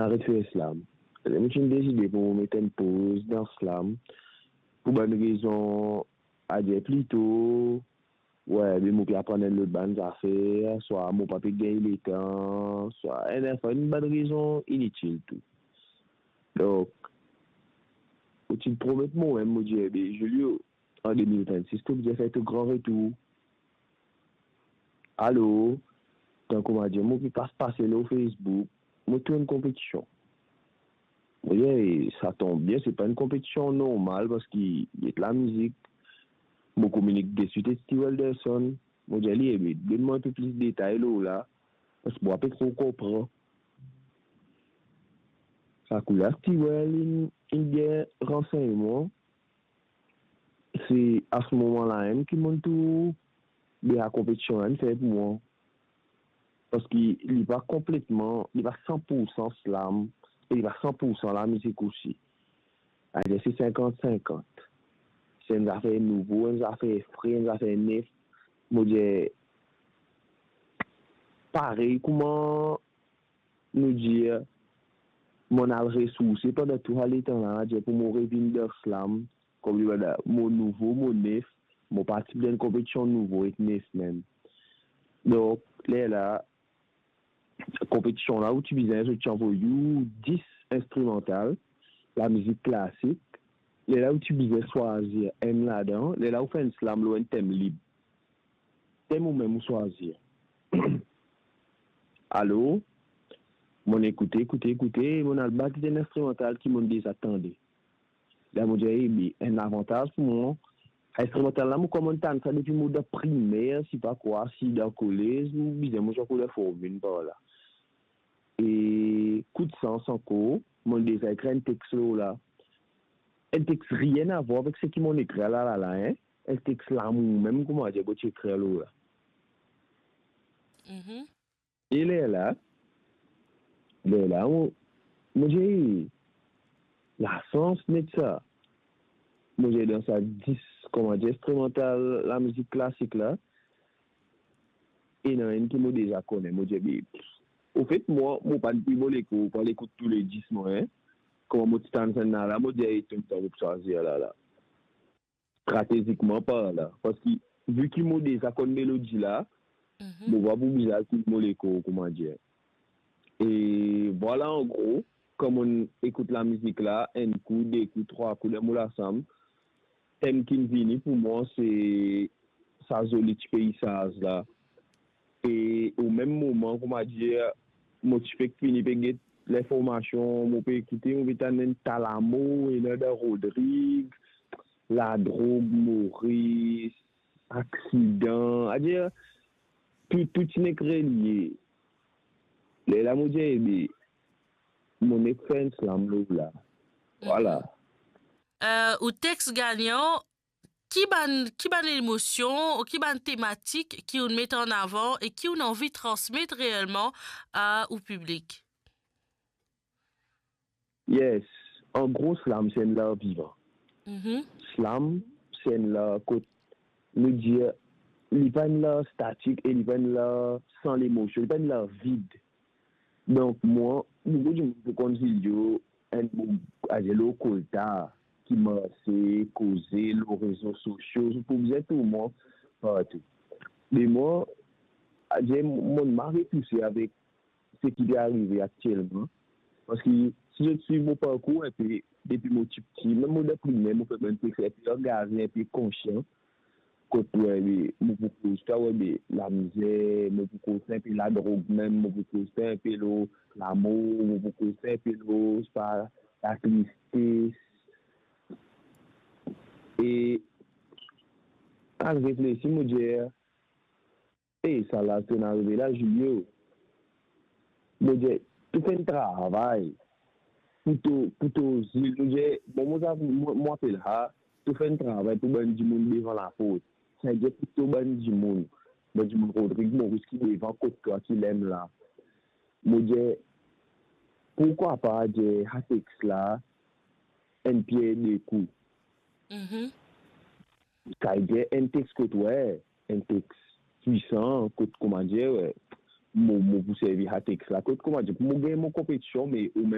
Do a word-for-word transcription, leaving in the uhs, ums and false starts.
aret fer slam. Mo ti deside pou mo met enn poz dan slam, pou bann rezon, adir plito, wi, be mo pe aprann enn lot bann zafer, swa mo pa pe gagn letan, swa enn, anfin, enn bann rezon initil tou. Donk, mo ti promet momem, mo dir, be, Julio, an de mil vennsis, to bizin fer to gran retour. Alor, tankou mo dir, mo pe pas pase lor Facebook, mo trouv enn konpetision. Mo dir, "E, sa tonm bien, se pa enn konpetision normal, parski li et lamizik." Mo kominik deswit ek Steve Wilderson. Mo dir li, "Ebe, donn mwa enn pe plis detay lor la, parski mo pa pe tro konpran." Sa kou la, Steve Wil, inn, inn gagn ransegnman. Se a se moman la mem ki mo'nn trouv, be, sa konpetision la inn fer pou mwa. Parski li pa konpletman, li pa san pou san slam, e li pa san pou san lamizik osi. Adir se sinkant sinkant. Se enn zafer nouvo, enn zafer fre, enn zafer nef. Mo dir, parey kouma nou dir, mo'nn al resourse pandan tou sa letan la, adir pou mo revinn dan slam, kouma dir, mo nouvo, mo nef, mo parti dan enn konpetision nouvo ek nef mem. Donk, lerla, konpetision la, ou ti bizin, zot ti anvoy ou dis instrimantal, lamizik klasik. Lerla ou ti bizin swazir enn ladan, lerla ou fer enn slam lor enn tem lib. Tem ou mem ou swazir. Alor, mo'nn ekoute, ekoute, ekoute, mo'nn al bat enn instrimantal ki mo'nn deza tande. La mo dir, ebe, enn lavantaz pou mwa. Instrimantal la, mo koumans tann sa depi mo dan primer, si pa kwa, si dan kolez, mo bizin mo zwe koulor formin par la. E kout sans ankor, mo'nn deza ekrir enn tex lor la. Enn tex rien a vwar avek seki mo'nn ekrir la, la, la, hein. Enn tex lamour mem, kouma dir, mo ti ekrir lor la. Mhm. E lerla, lerla, mo, mo dir, lasans net sa. Mo dir dan sa dis, kouma dir, instrimantal, lamizik klasik la, ena enn ki mo deza kone, mo dir, be, anfet, mwa, mo pa'nn pli mo lekor pou al ekout tou le dis, mwa, hein. Kouma mo ti tann sa la, la, mo dir, e, tonn sa mo pou swazir la, la. Stratezikman parlan, parski vi ki mo deza konn melodi la, mhm, mo pa pou bizin al kout mo lekor, kouma dir. E vwala, an gro, kan mo'nn ekout lamizik la, enn kou, de kou, trwa kou, dan mo lasam, tem ki'nn vini pou mwa, se sa zoli ti peizaz la. E o mem moman, kouma dir, mo ti fek fini pe get linformasion, mo pe ekoute, mo pe tann enn ta lamour, ena dan Rodrig, ladrog, Moris, aksidan, adir, tou, tou ti nek relie. Lerla mo dir, ebe, mo nek fer enn slam lor la. Vwala. Mhm. Euh, ou tex gagnan, ki bann, ki bann emosion ou ki bann tematik ki ou'nn met an avan e ki ou'nn anvi transmet reelman a ou piblik? Yes. An gro, slam se enn lar vivan. Mhm. Slam se enn lar kot nou dir, li pa enn lar statik e li pa enn lar san lemosion, li pa enn lar vid. Donk, mwa, boukou dimoun pou konn Julio, enn boug, adir lor koltar, ki marse, koze lor rezo sosio, zot pou bizin trouv mwa partou. Me mwa, adir, mo'nn mari touse avek seki pe arive aktielman. Parski si zot swiv mo parkour enpe, depi mo tipti, mem mo dan primer, mo fek bann pe fer, pe angaze, enpe konsian. Kot, wi, mo pou koz twa, wi, be, lamizer, mo pou koz twa enpe ladrog mem, mo pou koz twa enpe lor lamour, mo pou koz twa enpe lor, sepa, latristes. E al reflesi, mo dir, e sa la to'nn arive la, Julio. Mo dir, to fer enn travay pou to, pou to zil. Mo dir, bon, mo, mo, mo apel sa, to fer enn travay pou bann dimoun devan laport. Savedir pou to bann dimoun, bann dimoun Rodrig, Moris ki devan kot twa, ki lem la. Mo dir, pourkwa pa dir sa tex la, enn pier de kou. Mhm. Savedir enn tex kot, wi, enn tex pwisan, kot, kouma dir, wi, mo, mo pou servi sa text la. Kot, kouma dir, mo gagn mo konpetision, me omem